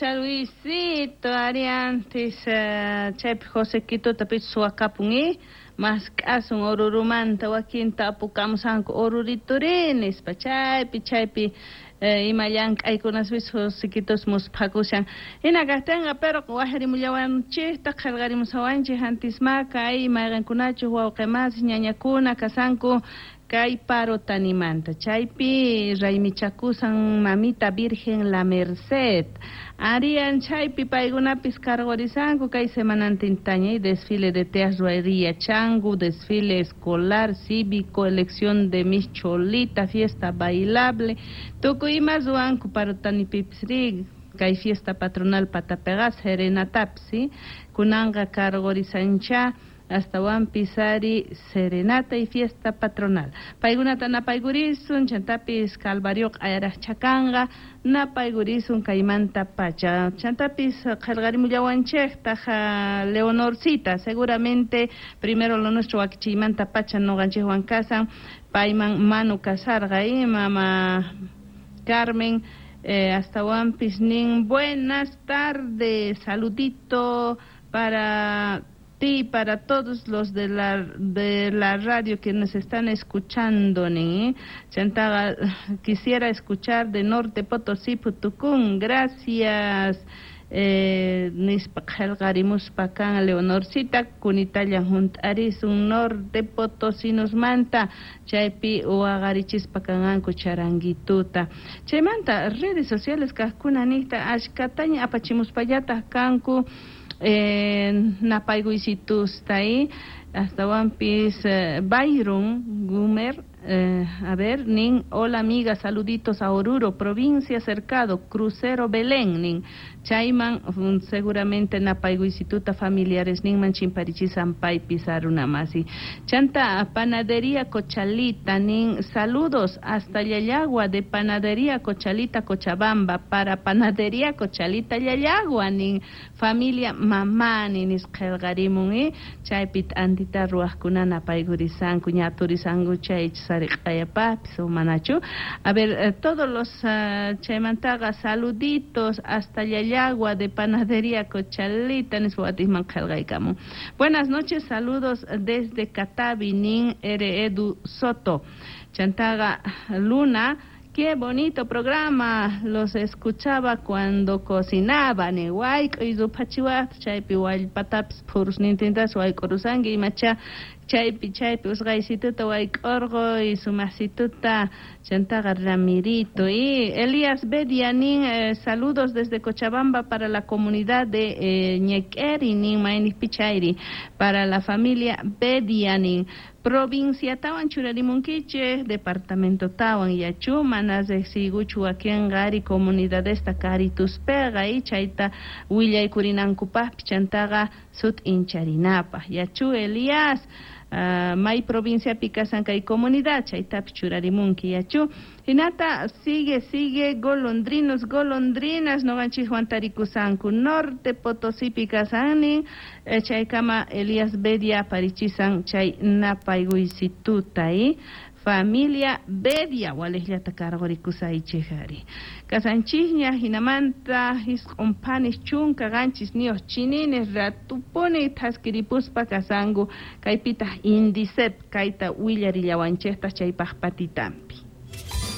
Pacha, Luisito, ari antes chaypi Josequitota pichus suwakapun i mask'asun Orurumanta wakinta apukamusanku Orurituri nispa chaypi chaypi ima llank'aykunaspis Josequitos musphakushan hina kajtinqa pero wajrimullawanchikta qillqarimusawanchik antisma kay mayqinkunachus wawqi masis ñañakuna kasanku kay Parotanimanta chaypi raymichakusan mamita Virgen La Merced arian chaypi paykunapis cargorisanku kay semanantintaña desfile de teas ruayriya changu desfile escolar cívico elección de Miss Cholita fiesta bailable tukuy ima ruwanku Parotanipipis ri kay fiesta patronal patapeqa serenatapis ¿sí? Kunanqa cargorisancha astawanpis ari serenata y fiesta patronal. Paykunata napaykurisun, chantapis Calvario q'ayaraqchakanqa napaykurisun kaymanta pacha. Chantapis qillqarimullawanchiktaq Leonorcita, seguramente primero lo nuestro wakichiymanta pacha nuqanchikwan kasan, payman manu kasarqa y mama Carmen astawanpis nin buenas tardes, saludito para ti, para todos los de la radio que nos están escuchando, ni Chantaga, quisiera escuchar de Norte Potosí, Putucún, gracias. Nispa qillqarimuspa kan Leonorcita kunitalla hunt'arisun Norte Potosinosmanta chaypi waqarichispa kanqanku charanguituta chaymanta redes sociales kaqkuna niqta achkataña apachimuspallataq kanku napaykuysitusta y astawanpis Byron Gumer a ver, nin, hola amiga, saluditos a Oruro, provincia Cercado, Crucero Belén, nin, chayman seguramente napaykuysituta familiares ninman chimparichisan paypis arunamasi. Chanta Panadería Cochalita, nin, saludos hasta Llallagua de Panadería Cochalita Cochabamba, para Panadería Cochalita Llallagua, nin, familia Mamani, nisqillqarimun, chaypi t'antita ruwaqkuna napaykurisanku, ñaturisanku chay sariq'ayapapis o manachu. A ver, todos los chaymantaqa saluditos hasta Llallagua de Panadería Cochalita nispa watisman qillqaykamun. Buenas noches, saludos desde Catavi, nin R. Edu Soto. Chantaga Luna, qué bonito programa, los escuchaba cuando cocinaba, ni wayk'uy ruphachiwaqta chaypi wallpatapis phurusnintintas wayk'urusanki imacha chaypi chaypi usqaysituta wayk'urquy sumaqsituta chantaqa Ramirito y Elías Bedia nin saludos desde Cochabamba para la comunidad de Ñequeri nin mayniqpi chayri para la familia Bedia nin provincia tawan churarimunkichik departamento tawan yachu mana riqsiykuchu wakinqa ari comunidadesta karituspeqa y chayta willaykurinankupaqpis chantaqa sut'incharinapaq yachu Elías may provinciapi kasan kay comunidad chaytapis churarimunki yachu hinata sigue sigue golondrinos golondrinas nuqanchikwan tarikusanku Norte Potosipi kasan chaykama Elías Bedia aparichisan chay napaykuysituta y familia Bedia waliqllata cargorikusaychik ari kasanchikña hinamanta 9 phanis 17 chinines ratupuni thaskiripuspa kasanku kaypitaq Indicep kayta willarillawanchiktaq chaypaq patitampi.